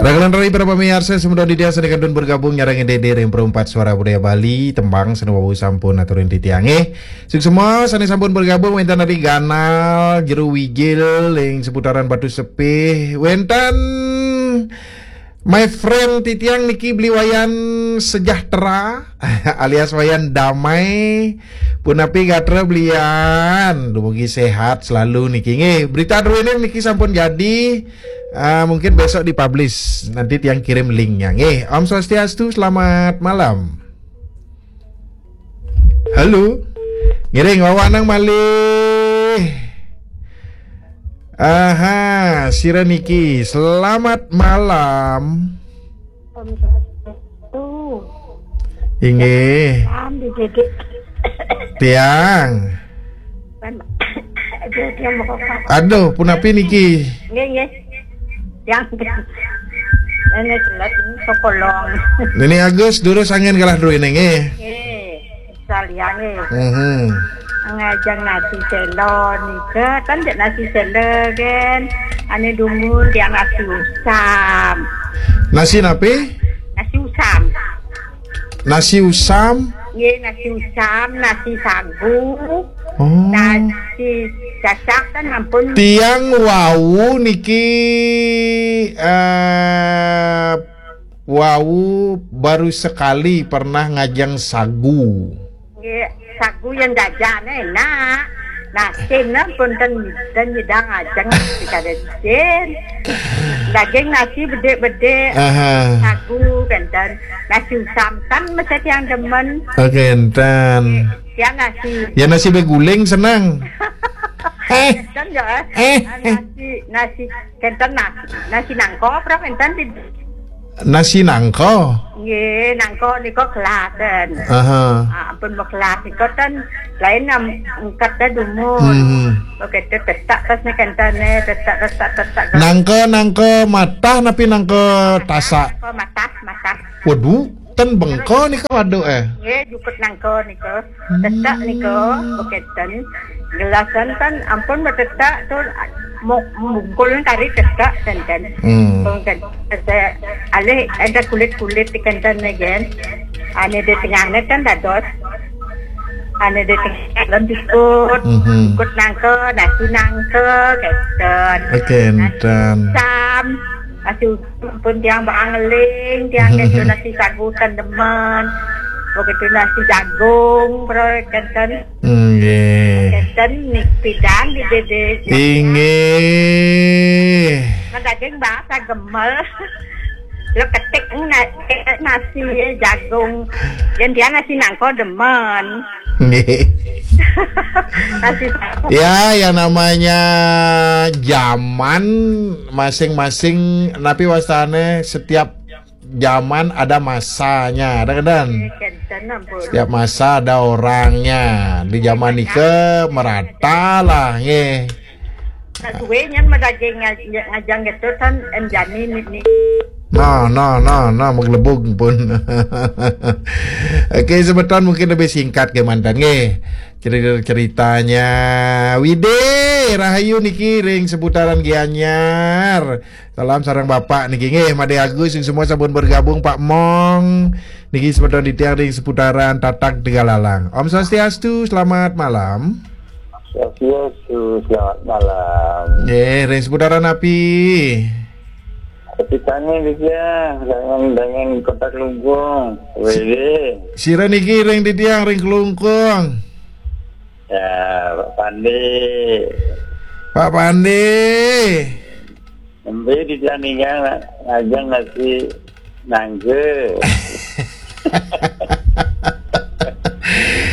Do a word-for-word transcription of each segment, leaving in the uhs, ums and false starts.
Ragalan rari para pamiarsa, semeton titiang sane kantun bergabung nyarengin Dede ring Perumpat Suara Budaya Bali, tembang sane wau sampun aturin titiange. Suksma sane sampun bergabung, wenten tadi Ganal, Jero Wigil, ring seputaran Batu Sepih, wenten my friend titiang niki Beli Wayan Sejahtera, alias Wayan Damai. Punapi gatra belian, dumugi sehat selalu niki nggih. Berita druene niki sampun jadi, ah, mungkin besok dipublish. Nanti tiang kirim linknya nggih. Om Swastiastu, selamat malam. Halo. Ngiring wawanang malih. Aha, sira niki. Selamat malam. Om Swastiastu. Inggih. Salam di Dede. Tiang. Kan, Dede mau kopak. Aduh, punapi niki? Nggih, nggih. Yang ini selat ini sokolong. Nini Agus durus angin kalah dulu ini nggih. Nggih, sekalian nggih. Mhm. Ngajeng nasi selo nika, kan jek nasi selo kan. Ane dumun tiang nasi usam. Nasi napi? Nasi usam. Nasi usam? Nggih, nasi usam, nasi sagu, Oh. nasi cacak kan ampun. Tiang wau niki, eh, wau baru sekali pernah ngajeng sagu. Nggih, sagu yang jajan enak. Nasi nah pun ten, ten nyidang ajeng nasi kada jin. Daging nasi bedik-bedik. Aha. Sagu kenten. Nasi usam kan mesti tiang demen. Oke, enten. Tiang nasi. Ya, nasi beguling senang. Eh. Kenten ya, eh. Eh, eh. Nasi, nasi kenten nasi. Nasi nangko, berapa kenten di Nasi nangko? Nggih, nangko nika geladen. Aha. Ah, ampun, mau gelas nika ten lain nam engkat dah dumun. Hmm. Oke, te-, tetak pas ni kentane, tetak, tetak, tetak. Nangko, nangko matah napi nangko tasak? Nangko matah, matah. Waduh, ten bengko nika waduh eh. Nggih, jukut nangko nika. Tetak nika, Hmm. beketen. Gelasan kan ampun betetak tu, mo-, mungkul kari tetak, kenten. Hmm. Pun kan, saya alih ada kulit-kulit di kenten ni kan. Ane di tengah ni kan dados. Ane di tengah dalam jukut. Mhm. Jukut nangko, nasi nangko, kenten. Kenten. Sam. Nasi uduk pun tiang bak angeling, tiang kenten nasi sagu ten demen. Begitu nasi jagung, bro, kenten. Nggih. Kenten ni pidan di Dede. Inggih. Nah, daging bahasa gemel. Lo ketik na-, nasi jagung. Yang dia nasi nangko demen. Nggih. Nasi sagu. Ya, yang namanya zaman masing-masing, napi wastane, setiap zaman ada masanya, ada kan? Kenten ampun. Setiap masa ada orangnya. Di zaman nika merata lah, nggih. Nah, duwe nyen madaging ngaj-, ngajang gitu kan, enjani ni, ni. No, no, no, no, maglebug pun. Oke, semeton mungkin lebih singkat ke mantan, nggih. Cerita-ceritanya Wide, rahayu niki ring seputaran Gianyar. Salam sareng Bapak niki nggih, Made Agus sing semua sampun bergabung, Pak Mong. Niki semeton titiang ring seputaran Tatak Tegalalang. Om Swastiastu, selamat malam. Swastiastu, selamat malam. Nggih, ring seputaran napi? Petitane titiang, dengan, dengan Kota Klungkung, W D. Sira niki ring titiang ring Klungkung. Ya, Pak Pandi. Pak Pandi. Embe di Janingan ngajeng nasi nangke.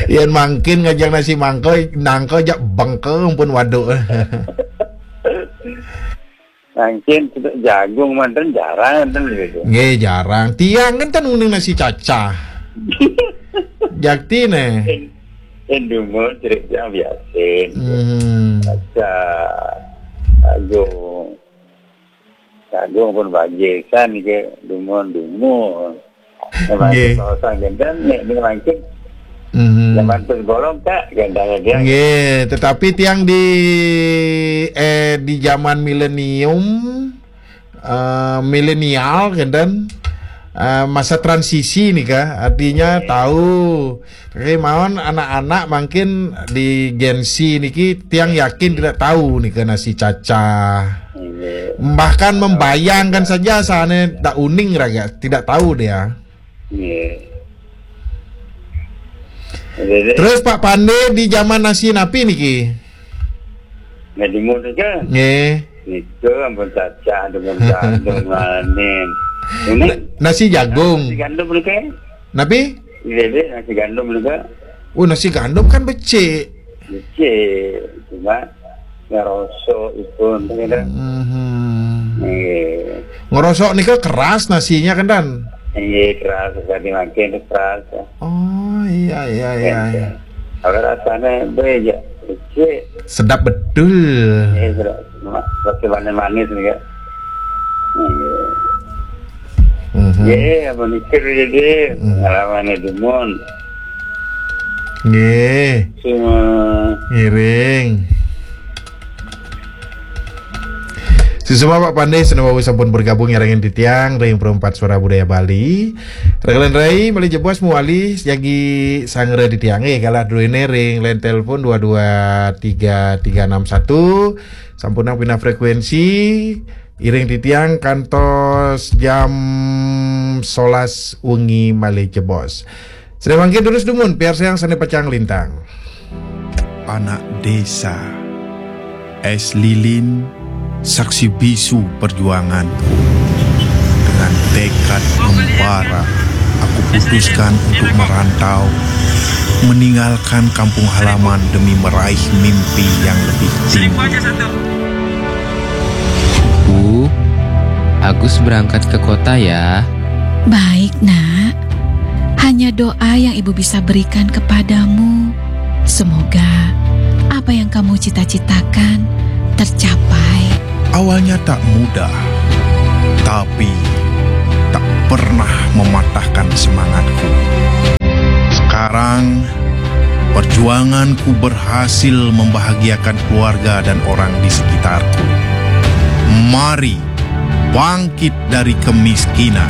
Yen mangkin ngajeng nasi mangke, nangke jak bengke pun waduh. Mangkin jagung manten jarang ten gitu. Nggih, jarang. Tiang kan ten uning nasi cacah. Jaktine. Indumur cerik yang biasin. Hmm. Cacah. Jagung. Jagung pun bagisan ke dumun-dumun. Nggih. Kawasan Genten nek ini mangkin. Mhm. Zaman tergolong, Kak, gandanya dia. Nggih, tetapi tiang di, eh, di zaman milenium, eh, milenial kan, dan eh, masa transisi nih, Kak. Artinya tahu. Oke, maon anak-anak mungkin di Gen Z niki, tiang yakin tidak tahu nih ke nasi cacah. Bahkan membayangkan saja sana tak uning raga, tidak tahu dia. Terus Pak Pande di zaman nasi napi niki? Nggih. Nika ampun cacah, ampun gandum, maning. Ini Na- nasi jagung. Nasi gandum nika. Napi? Ini nasi gandum nika. Oh, nasi gandum kan becik. Becik, cuma ngerosok ipun, gitu. Mhm. Nggih. Ngerosok nika keras nasinya kan, Dan? Nggih, keras, sekali makin keras. Oh, iya, iya, iya, iya. Kalau rasanya beda, becik. Sedap betul. Nggih, sedap. Cuma rasa manis-manis nih, Kak. Nggih. Mhm. Nggih, apa mikir, Dede? Mhm. Pengalaman dumun. Nggih. Semua. Ngiring. Susuma Pak Pande, seneng wau sampun bergabung nyarengin titiang ring Perempat Suara Budaya Bali. Renglen rai, malih jebos muali jagi sanggra titiang. Eh, kalah dulu ini ring line telepon dua dua tiga tiga enam satu. Sampun pindah frekuensi, iring titiang kantos jam solas wengi malih jebos. Sida mangkin terus dumun, piarsayang sane pacang lintang. Anak desa, es lilin, saksi bisu perjuanganku. Dengan tekad membara, aku putuskan untuk merantau, meninggalkan kampung halaman demi meraih mimpi yang lebih tinggi. Bu, Agus berangkat ke kota ya. Baik, Nak. Hanya doa yang Ibu bisa berikan kepadamu. Semoga apa yang kamu cita-citakan tercapai. Awalnya tak mudah, tapi tak pernah mematahkan semangatku. Sekarang, perjuanganku berhasil membahagiakan keluarga dan orang di sekitarku. Mari bangkit dari kemiskinan.